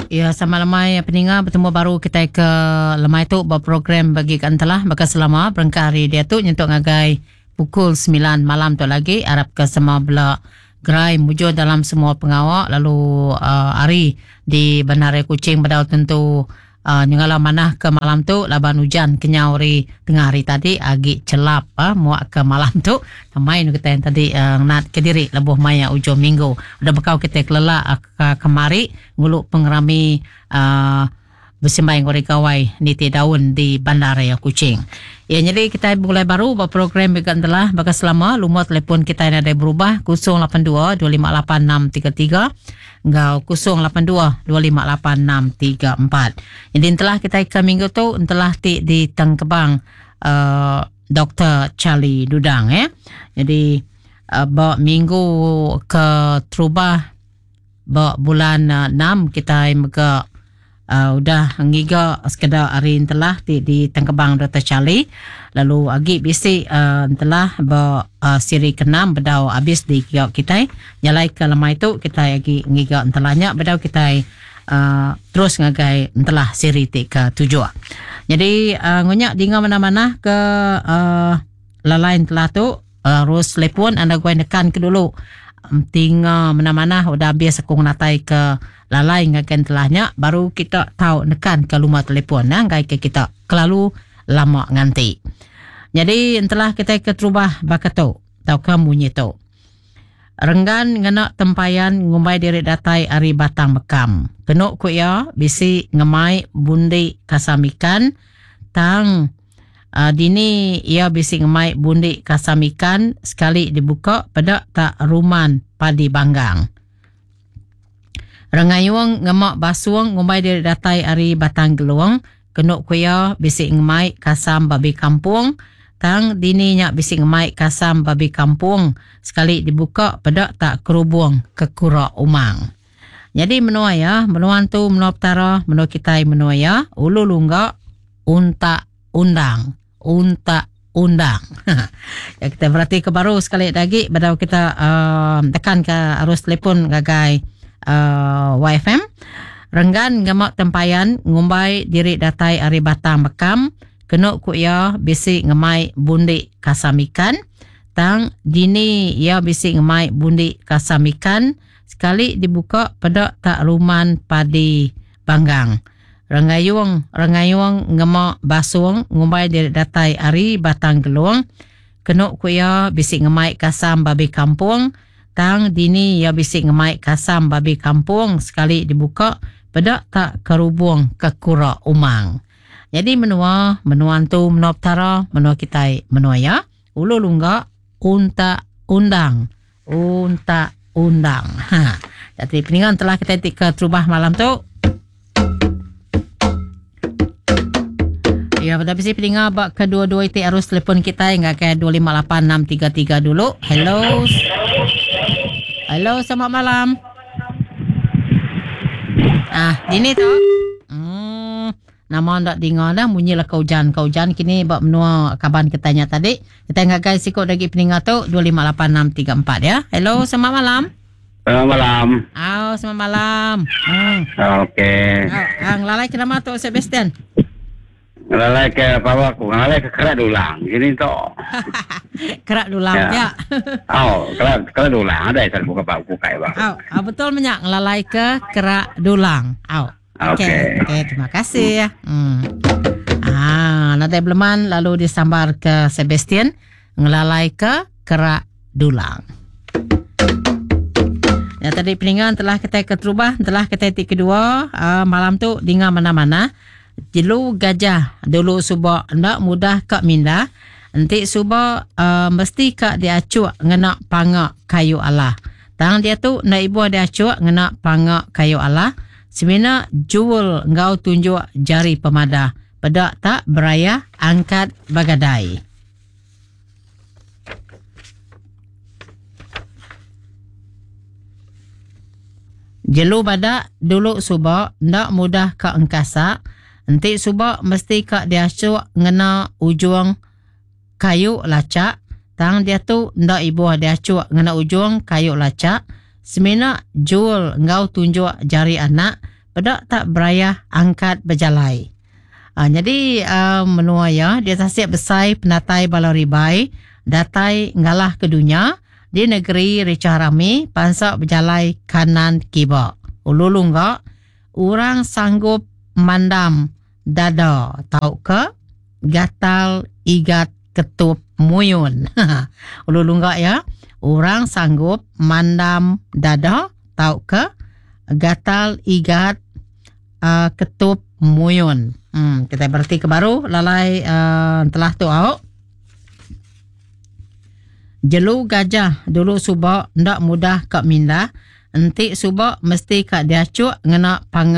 Ya, sama lemai peninga betemu baru kita ke lemai tu ba program bagi ke entelah baka selama berengkah hari dia tu nyentuk ngagai pukul 9 malam tu lagi arap ke semua bela gerai mujur dalam semua pengawa lalu uh, hari di Bandaraya Kuching bedau tentu uh, nyengala manah ke malam tu laban ujan kenyau hari tengah hari tadi agi celap uh, muak ke malam tu main kita yang tadi uh, nat ke diri lebuh maya ujung minggu udah bekau kita kelelak uh, ke kemari ngulu pengerami uh, besembahyang ngori gawai niti daun di Bandaraya Kuching. Ya, jadi kita mulai baru buat program juga telah baka selama lumur telefon kita yang ada berubah 082 258 633 enggau 082 258 634. Jadi telah kita ke minggu tu telah ti di Tengkebang uh, Dr. Charlie Dudang ya. Jadi uh, ba minggu ke terubah ba bulan uh, 6 kita mega uh, udah ngiga sekeda hari telah ti di Tengkebang Dr. Charlie lalu agi bisi uh, telah ba uh, siri ke-6 bedau habis di giga kita nyalai ke lemai tu kita agi ngiga entelahnya bedau kita uh, terus ngagai entelah siri ti ke-7. Jadi uh, ngunyak dinga mana-mana ke uh, lalai entelah tu uh, terus telepon anda gue nekan ke dulu tinga mana-mana udah habis aku natai ke lalai ngagai entelahnya baru kita tahu nekan ke rumah telefon nah ngai ke kita kelalu lama nganti. Jadi entelah kita ke terubah baka tu tau ke munyi tu. Renggan ngena tempayan ngumbai diri datai ari Batang Bekam. Kenu ku iya bisi ngemai bundi kasam ikan tang uh, dini iya bisi ngemai bundi kasam ikan sekali dibuka peda tak ruman padi banggang. Rengayung ngemak basung ngumbai diri datai ari Batang Gelung. Kenu ku iya bisi ngemai kasam babi kampung tang dini nya bisi ngemai kasam babi kampung sekali dibuka peda tak kerubung kekura umang. Jadi menua ya, menua tu menua petara, menua kitai menua ya, ulu lungga untak undang, untak undang. ya, kita berarti ke baru sekali lagi bedau kita uh, tekan ke arus telefon gagai uh, YFM. Renggan ngemak tempayan ngumbai diri datai ari Batang Bekam kenu ku iya bisi ngemai bundi kasam ikan tang dini iya bisi ngemai bundi kasam ikan sekali dibuka peda tak ruman padi banggang. Rengayung rengayung ngema basung ngumbai diri datai ari Batang Gelung kenu ku iya bisi ngemai kasam babi kampung tang dini iya bisi ngemai kasam babi kampung sekali dibuka peda tak kerubung kekura umang. Jadi menua, menua tu menua petara, menua kitai menua ya. Ulu lungga untak undang. Untak undang. Ha. Jadi peningan telah kita tik ke terubah malam tu. Ya, pada bisi peninga bak kedua-dua itu arus telefon kita yang ke 258633 dulu. Hello. Hello, selamat malam. Ah, dini tu. Nama ndak dengar dah bunyi lah kau hujan. Kau hujan kini bak menua kaban kitanya tadi. Kita ngagai sikut lagi peninga tu 258634 ya. Hello, selamat malam. Selamat malam. Oh, selamat malam. Hmm. Okey. Oh, ah, ngelalai ke nama tu Sebastian? Ngelalai ke apa aku? Ngelalai ke kerak dulang. Gini tu. Kerak dulang ya. ya. Oh, kerak kerak dulang ada saya buka pak buka ya, Oh, oh, betul menyak ngelalai ke kerak dulang. Oh. Okey. Okey, okay, terima kasih. Hmm. Ah, nadai beleman lalu disambar ke Sebastian ngelalai ke kerak dulang. Ya, tadi peningan telah kita keterubah, telah kita ti kedua uh, malam tu dengar mana-mana. Jelu gajah dulu subak ndak mudah kak mindah. Enti subak uh, mesti kak diacuk ngena pangak kayu Allah. Tang dia tu nak ibu diacuk ngena pangak kayu Allah. Semina jual ngau tunjuk jari pemadah. Pedak tak beraya angkat bagadai. Jelu badak dulu subak ndak mudah ka engkasa. Enti subak mesti ka diacuk ngena ujung kayu lacak. Tang dia tu ndak ibu diacuk ngena ujung kayu lacak. Semina jual ngau tunjuk jari anak. Peda tak berayah angkat bejalai. Uh, jadi uh, menua ya dia tasik besai penatai bala ribai datai ngalah ke dunya di negeri Richah Rami pansa bejalai kanan kiba. Ulu lungga orang sanggup mandam dada tauka gatal igat ketup muyun. Ulu lungga ya orang sanggup mandam dada tauka gatal igat uh, ketup muyun. Hmm, kita berarti ke baru lalai uh, telah tu au. Jelu gajah dulu suba ndak mudah kak mindah. Enti suba mesti kak diacuk ngena pangan.